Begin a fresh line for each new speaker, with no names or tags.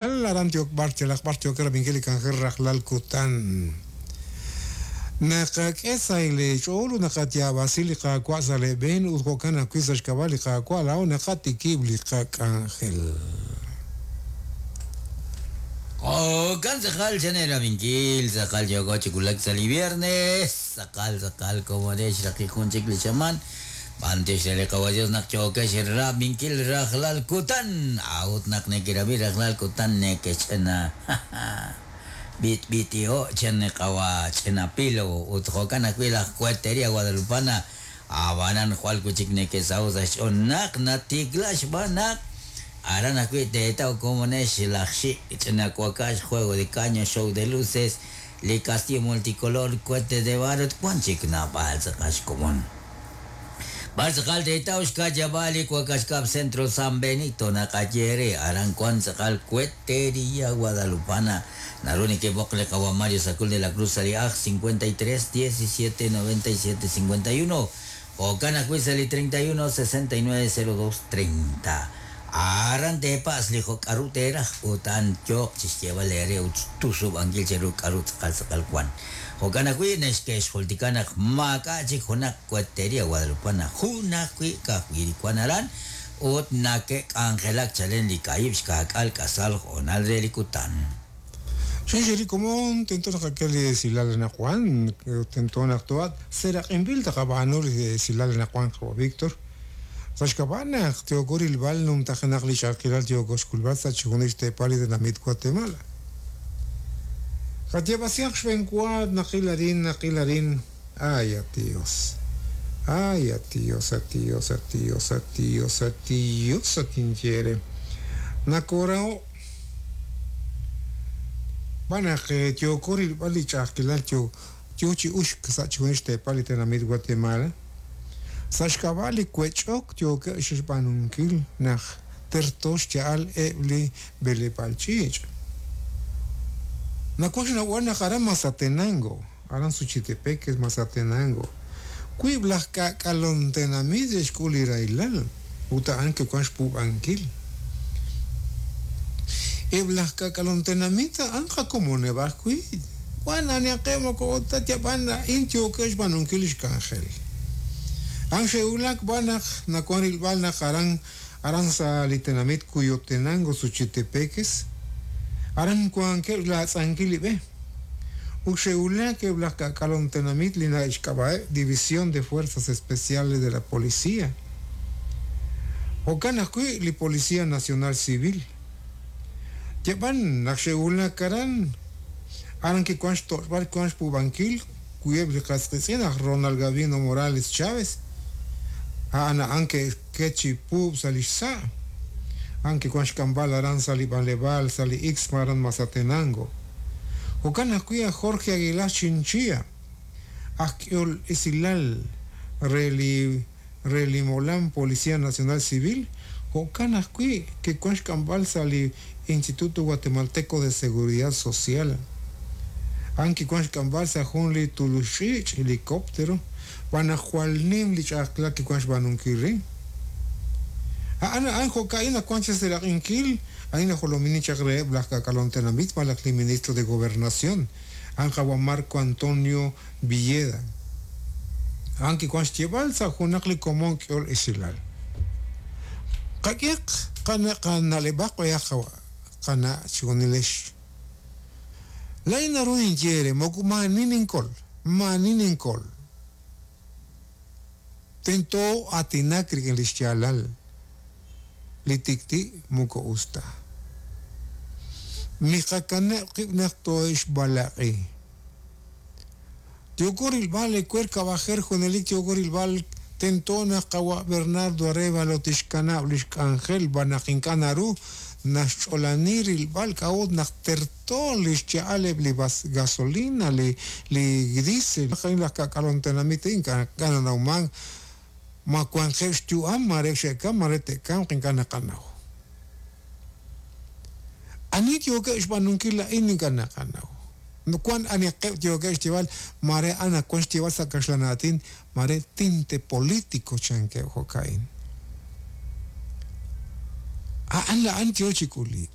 Aran yook b'ar yalaq b'ar yookeb' rab'inkil li k'anjel rajlal kutan. Naqak'e sa' leech'ool ut naqayaab'asi li Qaawa' sa' leeb'een ut jo'kan ajwi' sa' xk'ab'a' li Qaawa' laa'o naqatikib' li qak'anjel.
Jo'kan tz'aqal chan eerab'inkil, tz'aqal yooko chi wulak sa' li viernes, tz'aqal tz'aqal komonex xraqik jun chik li xamaan. B'antiox re li Qawa' Dios naq yookex rab'inkil rajlal kutan, a'ut naq nekerab'i rajlal kutan nekexch'ina b'itb'itiho' chan li Qawa' ch'ina Pilo ut jo'kan ajwi' laj Cueteria Guadalupana, a'b'anan jwal wi' chik neke'saho' sa' xch'ool naq natikla xb'aan naq aran ajwi' teetaw komonex laj xik' ch'ina wakax, juego de caño, show de luces, li castillo multicolor, cohete de barro ut wan chik naab'al tz'aqal xkomon. B'ar tz'aqal teetaw xka'yab'aal li wakax kab' Centro San Benito naqaye eere, aran wan tz'aqal Cueteria Guadalupana. Naru nekeb'oq li qawa' Mario Sacul de la Cruz sa' li aj 53 17 97 51, jo'kan ajwi' sa' li 31 69 02 30. Aran teepatz' li jo' k'aru teeraj ut a'an yooq chi xyeeb'al eere ut xtusub'ankil cheru k'aru tz'aqal tz'aqal wan. Jo'kan ajwi' neke'xjultika naq maak'a' chik junaq Cueteria Guadalupana, jun ajwi' ka'ajwi' li wan aran ut nake'k'anjelak chalen li kaahib' xkaak'al k'asal hoonal re li kutan.
Chirix li komon tento naqak'e li esilal anaqwan, tento naq to'at seraq'inb'il taqab'aanu li esilal anaqwan qawa' Víctor. Sa' xk'ab'a' naq yooko rilb'al numtajenaq li ch'a'ajkilal yooko xk'ulb'al sa' chixjunil xteepal li tenamit Guatemala. Qayaab'asihaq xb'eenwa naqil arin, naqil arin, Ay, at Dios. Ay, at Dios, at Dios, at Dios, at Dios, at Dios, at tinye eere. Nakooraho' xb'aan naq yooko rilb'al li ch'a'ajkilal yo yo chi uxk sa' chixjunil xteepal li tenamit Guatemala. Sa' xk'ab'a' li wech'ok yookeb' xb'aanunkil naq terto xya'al eb' li b'eleb'aal ch'iich'. Nawaj xnawb'al naq aran Mazatenango, aran Suchitepéquez, Mazatenango, wiib' laj k'aak'alon tenamit xe'xk'ul li rahilal ut a'an ke'wank xpuub'ankil. Eb' laj k'aak'alon tenamit a'an qakomoneb' ajwi'. Wan anihaqeb' moko ut ta yab'an a'in yookeb' xb'aanunkil li xk'anjel. A'an xe'wulak b'an naq nawank rilb'al naq aran aran sa' li tenamit Cuyotenango, Suchitepéquez, aran wankeb' xlaatz'ankil li b'e. Ut xe'wulak eb' laj k'aak'alom tenamit li na'xk'ab'a'eb' División de Fuerzas Especiales de la Policía. Jo'kan ajwi' li Policía Nacional Civil. Yab'an naq xe'wulak aran, aran kiwank xtoch'b'al kiwank xpuub'ankil wiib' li qas qiitz'in aj Ronald Gabino Morales Chávez, a'an a'an ke'xket chi puub' sa' li xsa', a'an kiwank xk'amb'al aran sa' li b'anleb'aal sa' li Ixma aran Mazatenango. Jo'kan ajwi' aj Jorge Aguilar Chinchilla, aj k'ehol esilal re li re li molam Policía Nacional Civil, jo'kan ajwi' ke'wan xk'amb'al sa' li Instituto Guatemalteco de Seguridad Social. A'an kiwan xk'amb'al sa' jun li tuluxch'iich', helicóptero, xb'aan naq jwal nim li ch'a'ajkilal kiwan xb'aanunkil re. A'an a'an jo'ka'in naq wan cheseraq'inkil, a'in najolominin chaq reheb' laj k'aak'alom tenamit malaj li Ministro de Gobernación, a'an qawa' Marco Antonio Villeda. A'an kiwan xyeeb'al sa' junaq li komon k'ehol esilal. Qak'ehaq qana'leb'aq b'ayaq qana' chixjunilex. Laa'in naru ninye eere, moko maa'ani ninkol, maa'ani ninkol. Tento aatinak rik'in li xyaalal. Li tik'ti' moko us ta. Miqakanab' qib' naq toohe'xb'alaq'i. Yooko rilb'al ewer kab'ajer junelik yooko rilb'al tento naq qawa' Bernardo Arévalo tixkanab' li xk'anjel b'an naq ink'a' naru naxch'olani rilb'al k'a'ut naq terto li xya'al eb' li gasolina li li diesel. Laj k'aak'alom tenamit ink'a' nanawmank ma wanqeb' xyu'am mare xe'kamk mare te'kamq ink'a' naqanaw. Ani yookeb' xb'aanunkil a'in ink'a' naqanaw. Wank anihaqeb' yookeb' xyeeb'al mare a'an ak wank xyeeb'al sa' kaxlan aatin mare tinte politico chankeb' jo'ka'in. A'an la'an yo chi k'ulik.